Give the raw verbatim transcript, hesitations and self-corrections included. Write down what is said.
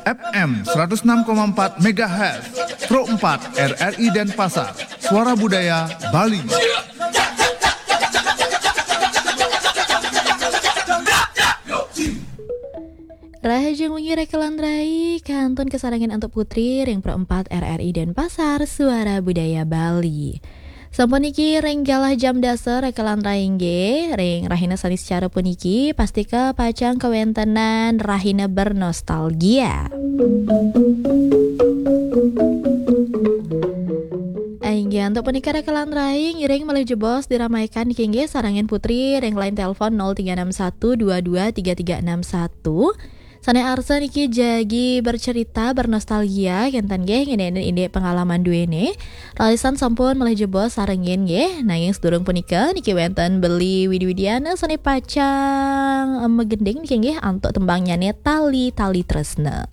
F M seratus enam koma empat megahertz, Pro empat R R I Denpasar, Suara Budaya Bali. Rahajeng wengi rekelan rai, kantun kasarengan antuk putri ring Pro empat R R I Denpasar, Suara Budaya Bali. Sampun niki ring galah jam dasa rekelan rai inggih, ring rahina sanis cara puniki, pastika pacang kawentenan rahina bernostalgia. Inggih, antuk punika rekelan rai, ngiring malih jebos diramaikan niki inggih sarengan putri ring line telepon nol tiga enam satu dua dua tiga tiga enam satu. Sane arsa niki jagi bercerita, bernostalgia, kenten nggih, ngeninin indik pengalaman duene. Ralisan sampun malih jebos sarengin nggih, nanging sedurung punika niki wenten Beli Widi Widiana sane pacang, em, magending niki inggih antuk tembangnyane Tali-Tali Tresna.